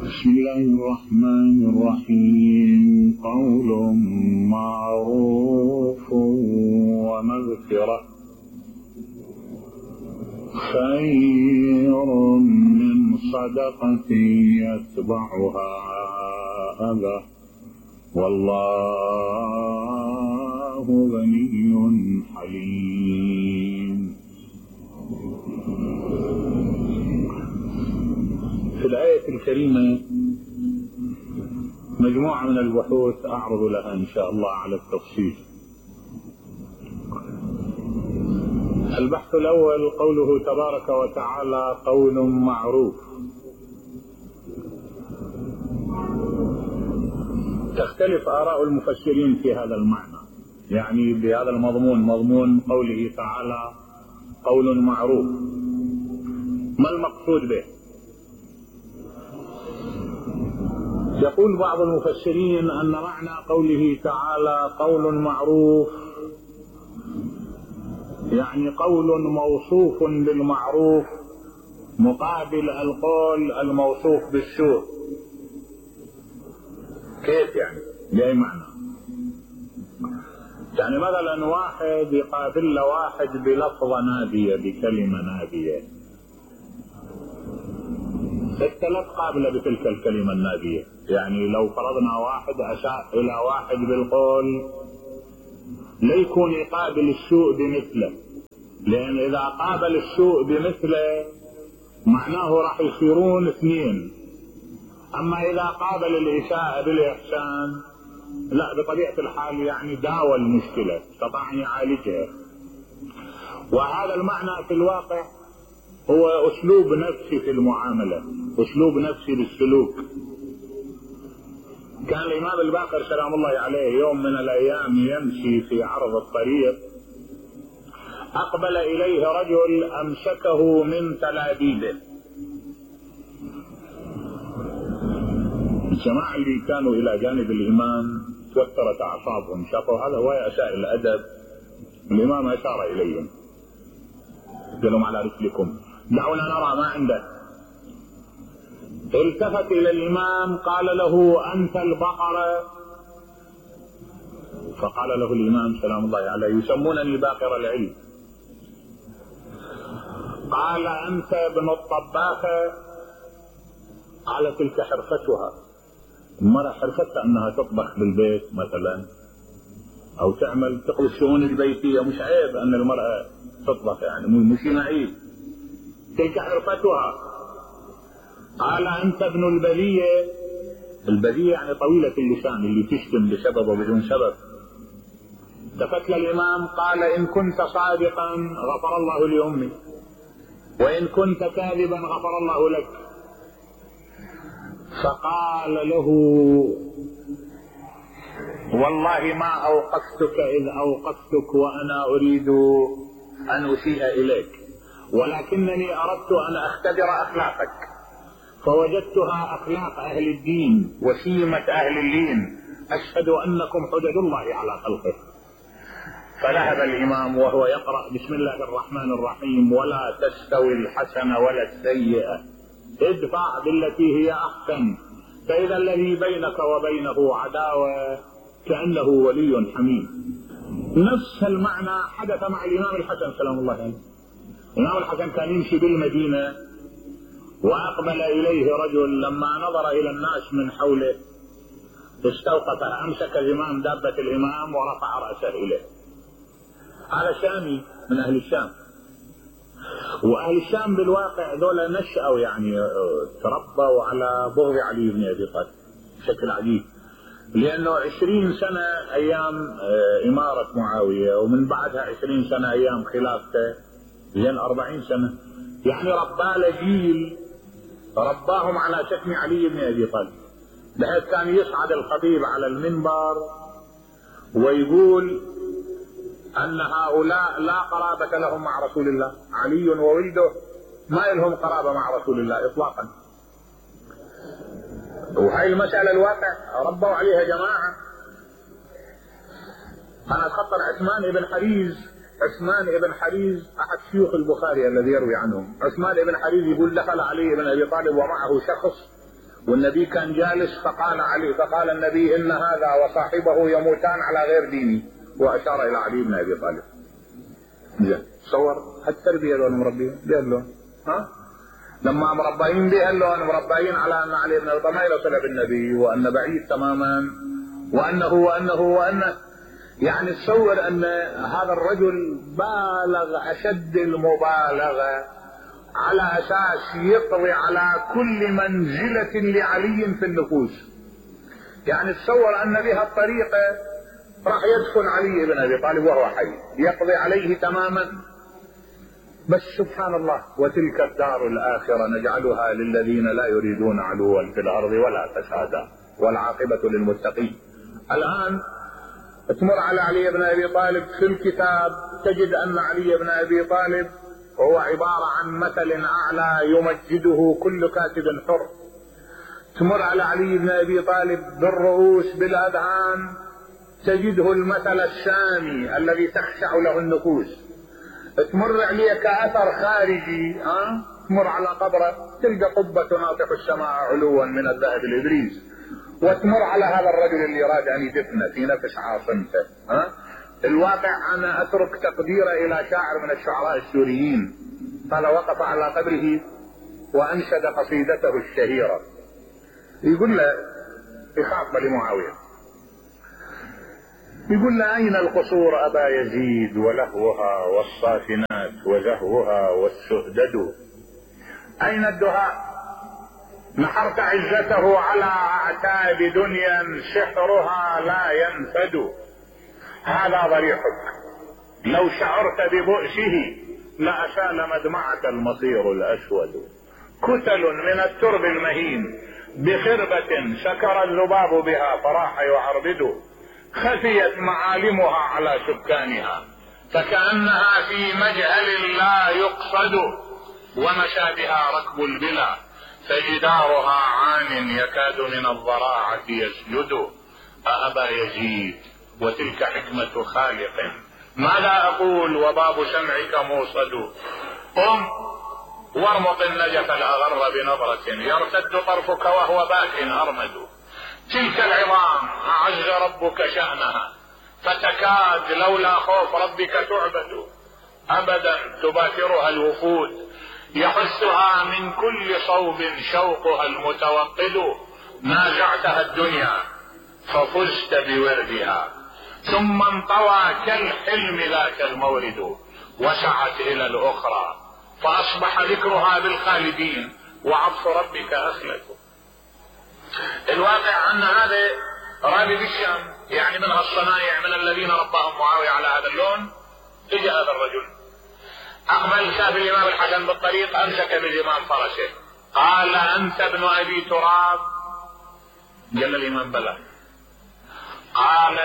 بسم الله الرحمن الرحيم. قول معروف ومغفرة خير من صدقة يتبعها أذى والله غني حليم. في الآية الكريمة مجموعة من البحوث أعرض لها إن شاء الله على التفصيل. البحث الأول قوله تبارك وتعالى قول معروف. تختلف آراء المفسرين في هذا المعنى، يعني بهذا المضمون، مضمون قوله تعالى قول معروف، ما المقصود به؟ يقول بعض المفسرين أن معنى قوله تعالى قول معروف يعني قول موصوف بالمعروف مقابل القول الموصوف بالسوء. كيف يعني؟ بأي معنى؟ يعني مثلا واحد يقابل واحد بلفظة نابية، بكلمة نابية، الثلاث قابلة بتلك الكلمة النابية. يعني لو فرضنا واحد أساء إلى واحد بالقول لا يكون يقابل السوء بمثله، لأن إذا قابل السوء بمثله معناه راح يصيرون اثنين. أما إذا قابل الإساءة بالإحسان لا، بطبيعة الحال يعني داوى المشكلة، استطاع أن يعالجها. وهذا المعنى في الواقع هو أسلوب نفسي في المعاملة، أسلوب نفسي بالسلوك. كان الإمام الباقر سلام الله عليه يوم من الأيام يمشي في عرض الطريق، أقبل إليه رجل أمسكه من تلابيبه. الجماعة اللي كانوا إلى جانب الإمام توترت أعصابهم، شافوا هذا هو أساء الأدب. الإمام أشار إليهم قال لهم على رسلكم دعونا نرى ما عنده. التفت إلى الإمام قال له أنت البقرة؟ فقال له الإمام سلام الله عليه يسمونني باقر العلم. قال أنت ابن الطباخة؟ قال تلك حرفتها. المرأة حرفتها أنها تطبخ بالبيت مثلا أو تعمل تقضي الشؤون البيتية، مش عيب أن المرأة تطبخ، يعني مش عيب، تلك حرفتها. قال أنت ابن البذية؟ البذية يعني طويلة اللسان، اللي تشتم بسبب وبدون سبب. التفت للإمام قال إن كنت صادقا غفر الله لأمي، وإن كنت كاذبا غفر الله لك. فقال له والله ما أوقفتك إذ أوقفتك وأنا أريد أن أسيء إليك، ولكنني أردت أن أختبر أخلاقك فوجدتها أخلاق أهل الدين وسيمة أهل اللين، أشهد أنكم حجج الله على خلقه. فذهب الإمام وهو يقرأ بسم الله الرحمن الرحيم ولا تستوي الحسنة ولا السيئة ادفع بالتي هي أحسن فإذا الذي بينك وبينه عداوة كأنه ولي حميم. نفس المعنى حدث مع الإمام الحسن سلام الله عليه. الإمام الحسن كان يمشي بالمدينة وأقبل إليه رجل، لما نظر إلى الناس من حوله استوقف، أمسك زمام دابة الإمام ورفع رأسه إليه. هذا شامي من أهل الشام، وأهل الشام بالواقع ذولا نشأوا يعني تربوا على بغض علي بن أبي طالب بشكل عجيب، لأنه 20 سنة أيام إمارة معاوية ومن بعدها 20 سنة أيام خلافته، زين 40 سنة، يعني ربى جيل رباهم على شتم علي بن أبي طالب، بحيث كان يصعد الخطيب على المنبر ويقول أن هؤلاء لا قرابة لهم مع رسول الله، علي وولده ما لهم قرابة مع رسول الله إطلاقا. وهي المسألة الواقع ربوا عليها جماعة. أنا أتخطر عثمان بن حريز، عثمان بن حريز أحد شيوخ البخاري الذي يروي عنهم. عثمان بن حريز يقول دخل علي بن أبي طالب ومعه شخص والنبي كان جالس فقال النبي إن هذا وصاحبه يموتان على غير ديني، وأشار إلى علي بن أبي طالب. تصور هالتربية دول مربيين بيقولون لما مربيين بيقولون مربيين على أن علي بن أبي طالب ما يصل بالنبي، وأن بعيد تماما، وأنه يعني تصور أن هذا الرجل بالغ أشد المبالغة على أساس يقضي على كل منزلة لعلي في النفوس. يعني تصور أن بها الطريقة راح يدخل علي بن أبي طالب وهو حي يقضي عليه تماما. بس سبحان الله، وتلك الدار الآخرة نجعلها للذين لا يريدون علوا في الأرض ولا فسادا والعاقبة للمتقين. الآن تمر على علي بن أبي طالب في الكتاب تجد أن علي بن أبي طالب هو عبارة عن مثل أعلى يمجده كل كاتب حر. تمر على علي بن أبي طالب بالرؤوس بالأذهان تجده المثل السامي الذي تخشع له النفوس. تمر عليه كأثر خارجي، تمر على قبره تلقى قبة ناطح السماء علوا من الذهب الإبريز، وتمر على هذا الرجل اللي يراد أن يدفنه في نفس عاصمته. الواقع أنا أترك تقديره إلى شاعر من الشعراء السوريين قال وقف على قبره وأنشد قصيدته الشهيرة، يقول له يخاطب لمعاوية يقول له أين القصور أبا يزيد ولهوها والصافنات وزهوها والسهدد، أين الدهاء نحرت عزته على أعتاب دنيا سحرها لا ينفد، هذا ضريحك لو شعرت ببؤسه لأسال مدمعة المصير الأسود، كتل من الترب المهين بخربة سكر الذباب بها فراح يعربد، خفيت معالمها على سكانها فكأنها في مجهل لا يقصد، ومشى بها ركب البلا فجدارها عان يكاد من الضراعة يسجد، أأبا يزيد وتلك حكمة خالق ماذا أقول وباب سمعك موصد، قم وارمق النجف الأغر بنظرة يرتد طرفك وهو باك أرمد، تلك العظام أعز ربك شأنها فتكاد لولا خوف ربك تعبد، أبدا تباكرها الوفود يحسها من كل صوب شوقها المتوقد، نازعتها الدنيا ففزت بوردها ثم انطوى كالحلم ذاك المورد، وسعت إلى الأخرى فأصبح ذكرها بالخالدين وعطف ربك أخلد. الواقع أن هذا رابي بالشام يعني من الصنايع من الذين رباهم معاوية على هذا اللون. اجى هذا الرجل أقبل شاف الإمام الحسن بالطريق أمسك بالإمام فرسه قال أنت ابن أبي تراب؟ قال الإمام بلى. قال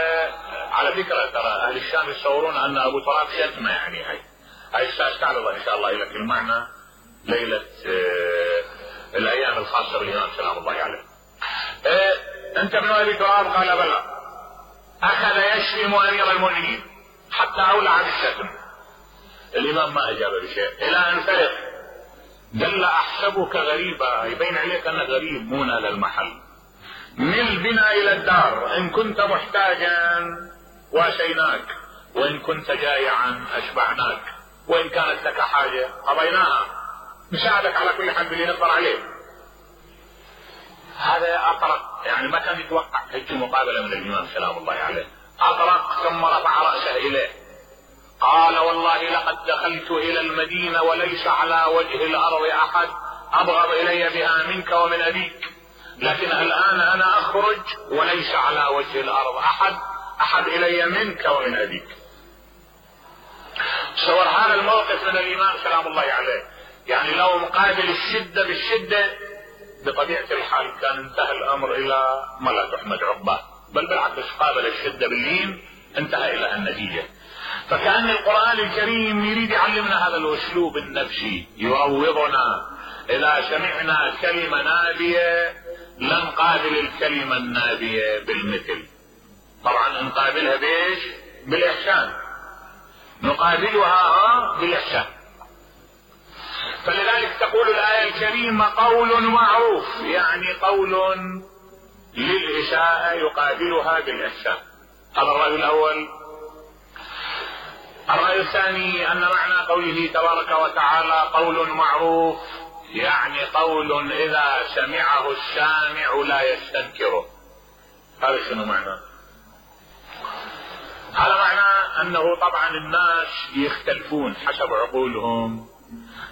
على فكرة ترى أهل الشام يتصورون أن أبو تراب شتمة، يعني هاي سأستعرض إن شاء الله لك المعنى ليلة الأيام الخاصة بالإمام سلام الله عليه. أنت ابن أبي تراب؟ قال بلى. أخذ يشتم أمير المؤمنين حتى أولع بالشتم. الإمام ما أجاب بشيء إلى أن فرق قال أحسبك غريبا، يبين عليك أنك غريب مو نال المحل، مل بنا إلى الدار إن كنت محتاجا واسيناك، وإن كنت جائعا أشبعناك، وإن كانت لك حاجة قضيناها، نساعدك على كل حال باللي نقدر عليه. هذا أطرق، يعني ما كان يتوقع هيك مقابلة من الإمام سلام الله عليه. أطرق ثم رفع رأسه إليه قال والله لقد دخلت إلى المدينة وليس على وجه الأرض أحد أبغض إلي بها منك ومن أبيك، لكن الآن أنا أخرج وليس على وجه الأرض أحد إلي منك ومن أبيك. صور هذا الموقف من الإمام سلام الله عليه، يعني لو مقابل الشدة بالشدة بطبيعة الحال كان انتهى الأمر إلى ما لا تحمد عقباه، بل بالعكس قابل الشدة باللين انتهى إلى النتيجة. فكأن القرآن الكريم يريد يعلمنا هذا الأسلوب النفسي، يروضنا إذا سمعنا كلمة نابية لن نقابل الكلمة النابية بالمثل. طبعا نقابلها بإيش؟ بالإحسان، نقابلها بالإحسان. فلذلك تقول الآية الكريمة قول معروف، يعني قول للإساءة يقابلها بالإحسان. هذا الرأي الأول. الرأي الثاني أن معنى قوله تبارك وتعالى قول معروف يعني قول إذا سمعه السامع لا يستنكره. هذا شنو معنى؟ هذا معنى أنه طبعا الناس يختلفون حسب عقولهم،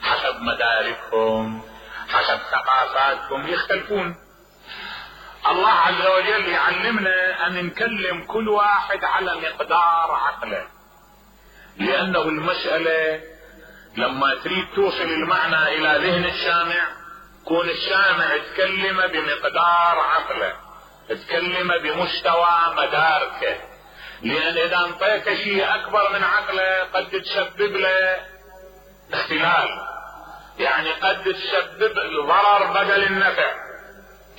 حسب مداركهم، حسب ثقافاتهم، يختلفون. الله عز وجل يعلمنا أن نكلم كل واحد على مقدار عقله، لأنه المسألة لما تريد توصل المعنى إلى ذهن السامع كون السامع تكلم بمقدار عقله، تكلم بمستوى مداركه، لأن إذا انطيت شيء أكبر من عقله قد تسبب له اختلال، يعني قد تسبب الضرر بدل النفع.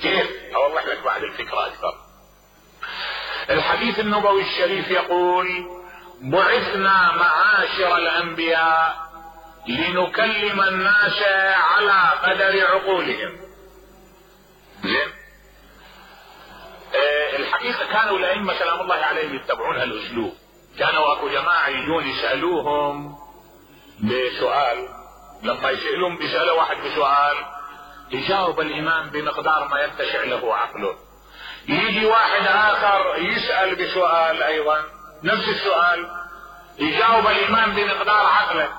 كيف؟ أوضح لك بعد الفكرة أكثر. الحديث النبوي الشريف يقول بعثنا معاشر الأنبياء لنكلم الناس على قدر عقولهم. زين؟ الحقيقة كانوا الأئمة سلام الله عليهم يتبعون هالأسلوب. كانوا أكو جماعة يجون يسألوهم بسؤال، لما يسألون بيسألوا واحد بسؤال يجاوب الإمام بمقدار ما يتسع له عقله. يجي واحد آخر يسأل بسؤال أيضا نفس السؤال، يجاوب الإمام بمقدار عقله.